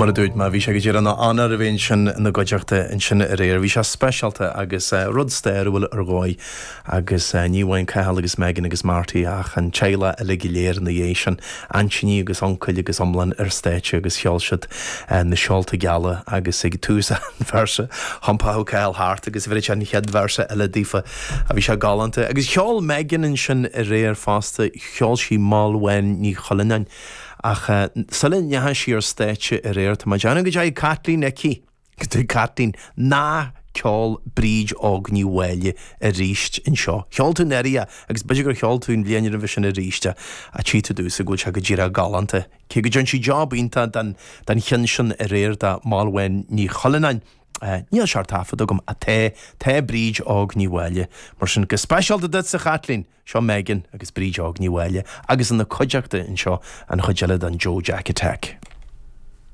Mar a dúirt mé, bhí sé go díreach ina onóir a bheith ansin ina gcuideachta ansin aréir. Bhí sé speisialta agus rud stairiúil ar dhóigh agus ní amháin Cathal agus Megan agus Marty ach an teaghlach uilig go léir ina dhiaidh sin, aintíní agus uncail agus iomlán ar stáitse agus cheol siad Na Seolta Geala agus ag tús an véarsa thiompódh Cathal thart agus bheireadh sé an chéad véarsa eile daofa. Bhí sé galánta. Agus cheol Megan ansin aréir fosta, cheol sí Maelwen Ní Chuilleanáin. Ach sula ndeachaigh sí ar stáitse aréir, tá mé ag déanamh go dteachaigh Caitlín aici, go dteachaigh Caitlín, nár cheol Bríd Óg Ní Mháille arís anseo. Cheol tú anuraidh é agus b'fhéidir gur cheol tú an bhliain roimhe sin arís é, ach tchí tú domhsa go bhfuil sé go díreach galánta. Cé go dtearn sí job iontach den den cheann sin aréir de Maelwen Ní Chuilleanáin, níl sé ar taifead agam, ach tá, tá Bríd Óg Ní Mháille. Mar sin, go speisialta duitse, a Chaitlín! Seo Megan agus Bríd Óg Ní Mháille agus ina cuideachta anseo an chuid eile den Joe Jack Attack.